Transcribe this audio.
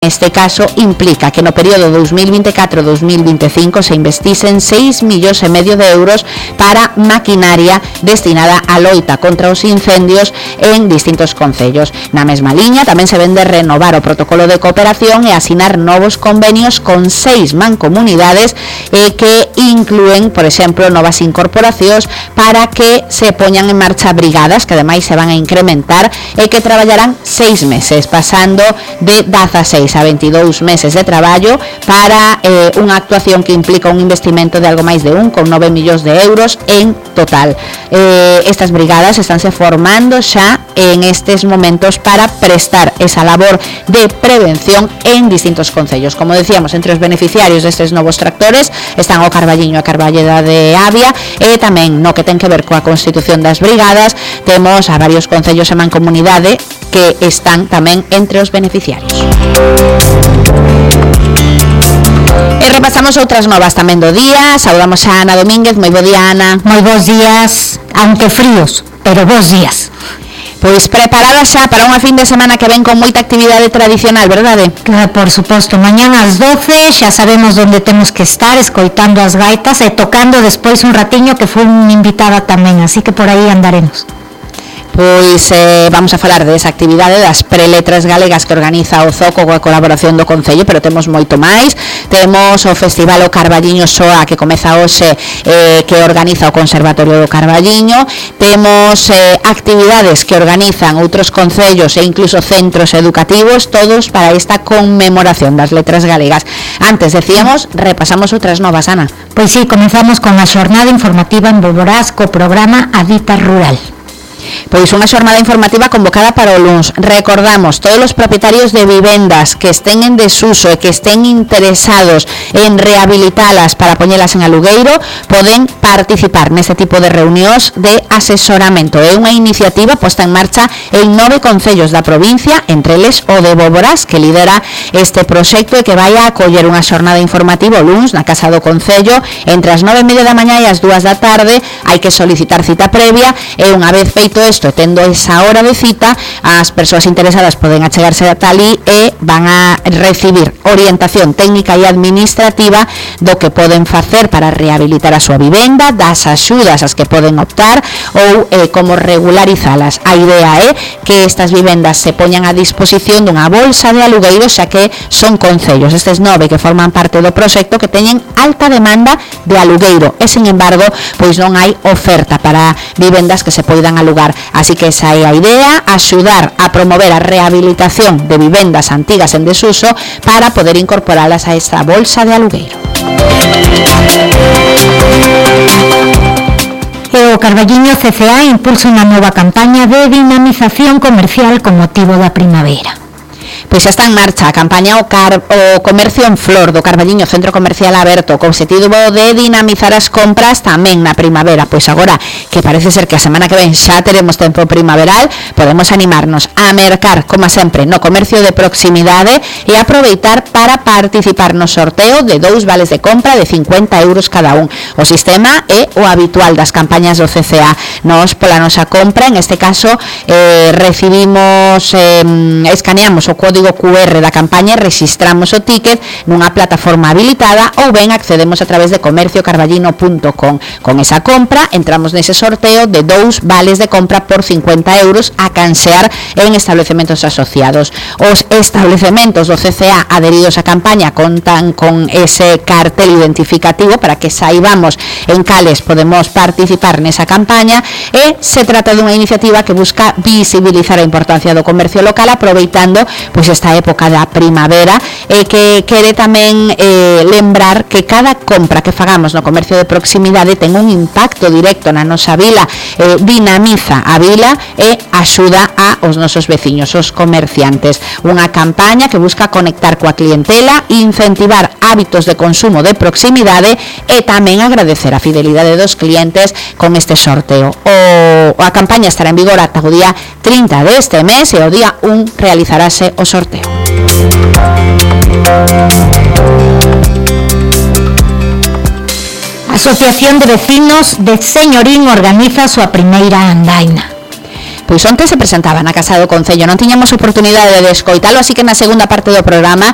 neste caso implica que no período 2024-2025 se investisen 6,5 millóns de euros para maquinaria destinada á loita contra os incendios en distintos concellos. Na mesma liña tamén se vende renovar o protocolo de cooperación e asinar novos convenios con 6 mancomunidades que inclúen, por exemplo, novas incorporacións para que se poñan en marcha brigadas que ademais se van a incrementar e que traballarán 6 meses, pasando de 16 a 22 meses de traballo para unha actuación que implica un investimento de algo máis de 1,9 millóns de euros en total. Estas brigadas estánse formando xa en estes momentos para prestar esa labor de prevención en distintos concellos. Como decíamos, entre os beneficiarios destes novos tractores están o Carballiño e a Carballeda de Avia, e tamén no que ten que ver coa constitución das brigadas temos a varios concellos e mancomunidade que están tamén entre os beneficiarios. E repasamos outras novas tamén do día. Saudamos a Ana Domínguez. Moi bo día, Ana. Moi bons días, aunque fríos, pero bons días. Pois preparada xa para unha fin de semana que ven con moita actividade tradicional, verdade? Claro, por suposto, mañán ás 12 xa sabemos onde temos que estar, escoitando as gaitas e tocando despois un ratiño que foi unha invitada tamén, así que por aí andaremos. Pois vamos a falar desa actividade das preletras galegas que organiza o Zoco coa colaboración do Concello, pero temos moito máis. Temos o Festival O Carballiño Soa que comeza hoxe, que organiza o Conservatorio do Carballiño. Temos actividades que organizan outros concellos e incluso centros educativos, todos para esta conmemoración das letras galegas. Antes decíamos, repasamos outras novas, Ana. Pois sí, comenzamos con a xornada informativa en Boborás co programa A Dita Rural. Pois unha xornada informativa convocada para o luns. Recordamos, todos os propietarios de vivendas que estén en desuso e que estén interesados en rehabilitalas para poñelas en alugueiro poden participar neste tipo de reunións de asesoramento. É unha iniciativa posta en marcha en 9 concellos da provincia, entre eles o de Boborás, que lidera este proxecto e que vai a acoller unha xornada informativa o luns na Casa do Concello entre as 9:30 da mañá e as 2 da tarde. Hai que solicitar cita previa e unha vez feito isto, tendo esa hora de cita, as persoas interesadas poden achegarse ata ali e van a recibir orientación técnica e administrativa do que poden facer para rehabilitar a súa vivenda, das axudas ás que poden optar ou como regularizalas. A idea é que estas vivendas se poñan a disposición dunha bolsa de alugueiro, xa que son concellos, estes 9 que forman parte do proxecto, que teñen alta demanda de alugueiro e, sin embargo, pois non hai oferta para vivendas que se poidan alugar. Así que esa é a idea, axudar a promover a rehabilitación de vivendas antigas en desuso para poder incorporalas a esta bolsa de alugueiro. O Carballiño CCA impulsa unha nova campaña de dinamización comercial con motivo da primavera. Pois xa está en marcha a campaña o Comercio en Flor do Carballiño Centro Comercial Aberto, co obxectivo de dinamizar as compras tamén na primavera. Pois agora que parece ser que a semana que ven xa teremos tempo primaveral, podemos animarnos a mercar, como sempre, no comercio de proximidade e aproveitar para participar no sorteo de 2 vales de compra de 50 euros cada un. O sistema é o habitual das campañas do CCA. Nos, pola nosa compra, en este caso, recibimos, escaneamos o código QR da campaña e registramos o ticket nunha plataforma habilitada ou ben accedemos a través de comerciocarballino.com. Con esa compra entramos nese sorteo de 2 vales de compra por 50 euros a cansear en establecementos asociados. Os establecementos do CCA adheridos á campaña contan con ese cartel identificativo para que saibamos en cales podemos participar nesa campaña, e se trata dunha iniciativa que busca visibilizar a importancia do comercio local aproveitando pois esta época da primavera, e que quere tamén lembrar que cada compra que fagamos no comercio de proximidade ten un impacto directo na nosa vila, dinamiza a vila e axuda aos nosos veciños, os comerciantes. Unha campaña que busca conectar coa clientela, incentivar hábitos de consumo de proximidade e tamén agradecer a fidelidade dos clientes con este sorteo. A campaña estará en vigor ata o día 30 deste mes e o día 1 realizarase o sorteo. A Asociación de Vecinos de Señorín organiza a súa primeira andaina. Pois onte se presentaba na Casa do Concello, non tiñamos oportunidade de escoitalo, así que na segunda parte do programa